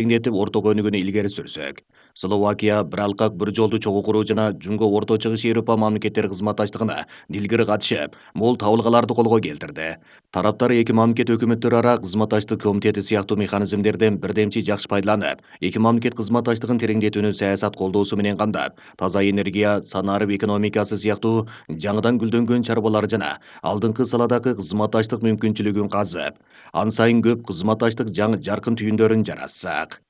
теңдетип орток өнүгүүнү илгери сүрсөк. Словакия бир алкак бир жолду чогуу куруу жана Жунго Орто Чыгыш Европа мамлекеттери кызматташтыгына дилгири катышып, мол табылгаларды колго келтирди. Тараптар эки мамлекет өкмөттөрү ара кызматташтык комитети сыяктуу механизмдерден бирдемчи жакшы пайдаланып, эки мамлекет кызматташтыгын тереңдетүүнү саясат колдоосу менен камдап, таза энергия, санарып экономикасы сыяктуу жаңыдан гүлдөнгөн чарбалар жана алдыңкы саладагы кызматташтык мүмкүнчүлүгүн казып, ан сайын көп кызматташтык жаркын түйүндөрүн жаратсак.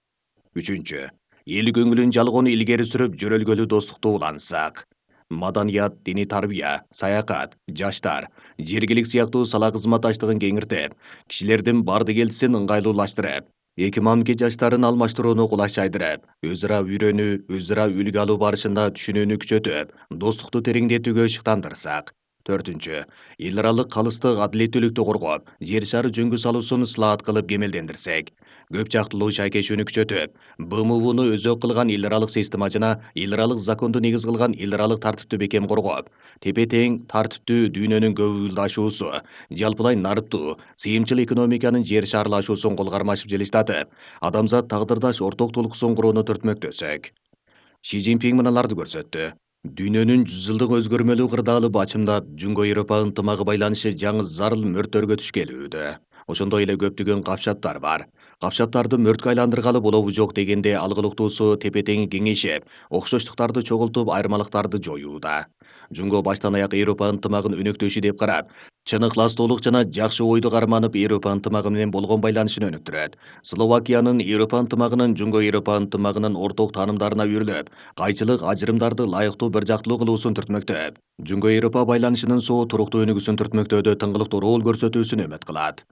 Үчүнчү, эл көңүлүн жалгоону илгери сүрүп, жөрөлгөлүү достукту улантсак. Маданият, диний тарбия, саякат, жаштар, жергилик сыяктуу сала кызматташтыгын кеңиртип, кишилердин барды келтисин ыңгайлуулаштырып, эки мамлекет жаштарын алмаштырууну кулайчайдырып, өз ара үйрөнүү, өз ара үлгү алуу барышында түшүнүүнү күчөтүп, достукту тереңдетүүгө ышыктандырсак. Төртүнчү, эл аралык калыстык, адилеттүүлүктү коргоп, жер шары жөнгө салуусун ысылаат кылып кемелдендирсек. Көп жактылуу шайкешүүнү күчөтүп, БМУну өзөк кылган эл аралык система жана эл аралык законду негиз кылган эл аралык тартипти бекем коргоп, тепе тең, тартиптүү дүйнөнүн көбүлдашуусу, жалпылай нарыктуу, сыйымчыл экономиканын жер шарлашуусун кол кармашып жылыштатып, адамзат тагдырдаш орток толкусун курууну түртмөктөсөк. Ши Цзиньпин мыналарды көрсөттү. Дүйнөнүн 100 жылдык өзгөрмөлүү кырдаалы бачымдап, Жунго Европа ынтымагы байланышы жаңы зарыл мөрттөргө туш келүүдө. Ошондой эле көптөгөн капшаттар бар. Капшаттарды мөрткө айландыргалы болобу жок дегенде алгылыктуусу тепе тең кеңейишип, окшоштуктарды чогултуп, айырмалыктарды жоюуда. Жунго баштан аяк Европа ынтымагын өнөктөшү деп карап, чын ыкластуулук жана жакшы ойду карманып, Европа ынтымагы менен болгон байланышын өнүктүрөт. Словакиянын Европа ынтымагынын Жунго Европа ынтымагынын орток таанымдарына үйрүлүп, кайчылык, ажырымдарды ылайыктуу бир жактылуу кылуусун түртмөктөп, Жунго Европа байланышынын соо туруктуу өнүгүүсүн түртмөктөөдө тыңгылыктуу роль көрсөтүүсүн үмүт кылат.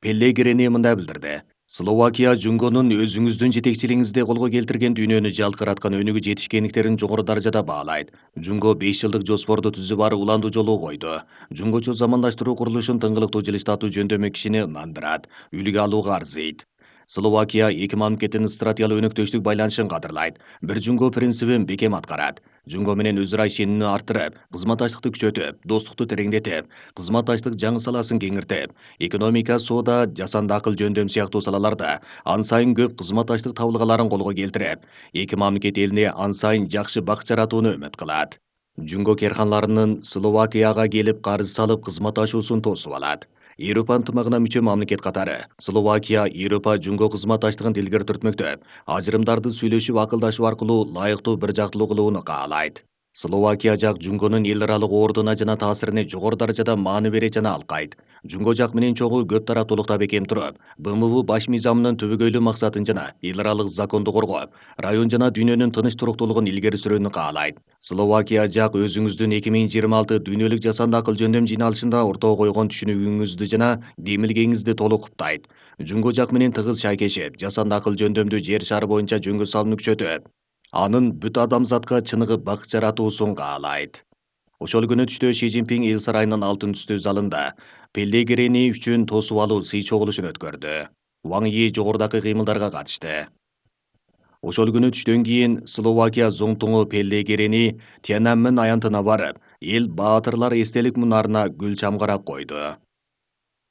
Пеллегрини мындай билдирди. Словакия Жунгонун өзүңүздүн жетекчилигиңизде колго келтирген дүйнөнү жалкыраткан өнүгүү жетишкендиктерин жогору даражада баалайт. Жунго 5 жылдык жоспорду түзүп ары уланду жолу койду. Жунгочу замандаштыруу курулушун тыңгылыктуу жылыштатуу жөндөмү кишини ынандырат, үлгү алууга арзыйт. Словакия эки мамлекеттин стратегиялык өнөктөштүк байланышын кадырлайт, бир Жунго принцибин бекем аткарат. Жунго менен өз ара ишенимни арттырып, кызматташтыкты күчөтүп, достукту тереңдетип, кызматташтык жаңы саласын кеңиртип, экономика, соода, жасанды акыл жөндөм сыяктуу салаларда ан сайын көп кызматташтык табылгаларын колго келтирип, эки мамлекет элине ан сайын жакшы бак жаратууну үмүт кылат. Жунго керканларынын Словакияга келип карыз салып кызматташуусун тосуп алат. Европа ынтымагына мүчө мамлекет катары Словакия Европа Жунго кызматташтыгын илгери түртмөктөп, ажырымдарды сүйлөшүп акылдашуу аркылуу лайыктуу бир жактылуу кылууну каалайт. Словакия жак Жунгонун эл аралык ордуна жана таасирине жогору даражада маани берет жана алкайт. Жунго жак менен чогуу көп тараптуулукта бекем туруп, БМУ баш мыйзамынын түбөгөйлүү максатын жана эл аралык законду коргоп, район жана дүйнөнүн тыныч туруктуулугун илгери сүрүүнү каалайт. Словакия жак өзүңүздүн 2026 дүйнөлүк жасанды акыл жөндөм жыйналышында ортого койгон түшүнүгүңүздү жана демилгеңизди толук куптайт. Жунго жак менен тыгыз шайкешип, жасанды акыл жөндөмдү жер шары боюнча жөнгө салууну күчөтүп, анын бүт адамзатка чыныгы бак жаратуусун каалайт. Ошол күнү түштө Ши Цзиньпин эл сарайынын алтын түстүү залында Пеллегрини үчүн тосуп алуу сый чогулушун өткөрдү. Ван Йи жогорудагы кыймылдарга катышты. Ошол күнү түштөн кийин Словакия зоңтуңу Пеллегрини Тяньаньмэн аянтына барып, эл баатырлар эстелик мунарына гүл чамгарак койду.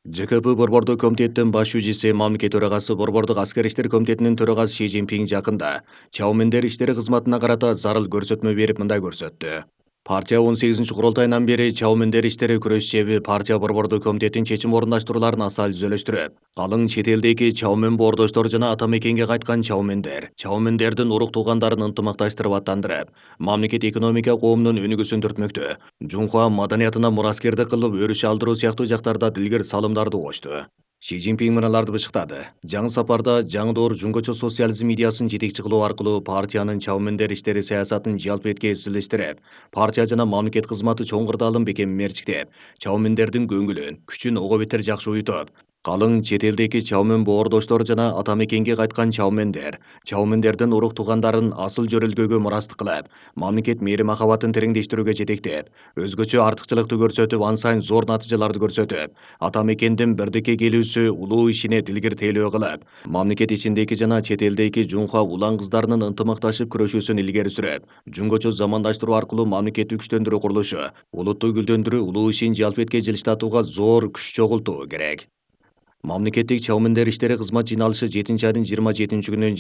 ЖКП Борбордук комитеттин баш жүзүчүсү, мамлекет төрагасы, Борбордук аскер иштер комитетинин төрагасы Ши Цзиньпин жакында Чаомендер иштери кызматына карата зарыл көрсөтмө берип мындай көрсөттү. Партия 18 курултайынан бери Чаомендер иштери күрөш чеби партия Борбордук комитеттин чечим орундаштырууларын аса үзөлөштүрүп, калың чет элдеги Чаомен боордоштор жана ата мекенге кайткан Чаомендердин урук туугандарын ынтымакташтырып аттандырып, мамлекет экономика коомунун өнүгүүсүн түртмөктө, Жунхуа маданиятына мураскердик кылып өрүш алдыруу сыяктуу жактарда дилгер салымдарды кошту. Ши Цзиньпин мыналарды бышыктады. Жаңы сапарда жаңы доор жунгочу социализм идеясын жетекчи кылуу аркылуу партиянын Чаомендер иштери саясатын жалпы этке изилештирип, партия жана мамлекет кызматы чоң кырдаалын бекем мерчиктеп, Чаомендердин көңүлүн, күчүн ого бетер жакшы уютуп, калың чет элдеги Чаомен боордоштор жана ата мекенге кайткан Чаомендердин урук туугандарын асыл жөрөлгөөгө мурастык кылып, мамлекет мээри махабатын тереңдештирүүгө жетектеп, өзгөчө артыкчылыкты көрсөтүп, ан сайын зор натыйжаларды көрсөтүп, ата мекендин бирдикке келүүсү улуу ишине дилгиртээлөө кылып, мамлекет ичиндеги жана чет элдеги Жунхуа улан кыздарынын ынтымакташып күрөшүүсүн илгери сүрүп, жунгочу замандаштыруу аркылуу мамлекеттик күчтөндүрүү курулушу, улутту гүлдөндүрүү улуу ишин жалпы этке жылыштатууга зор күч чогултуу керек. Мамлекеттик Чаомендер иштери кызмат жыйналышы 7 айдын 27 күнүнөн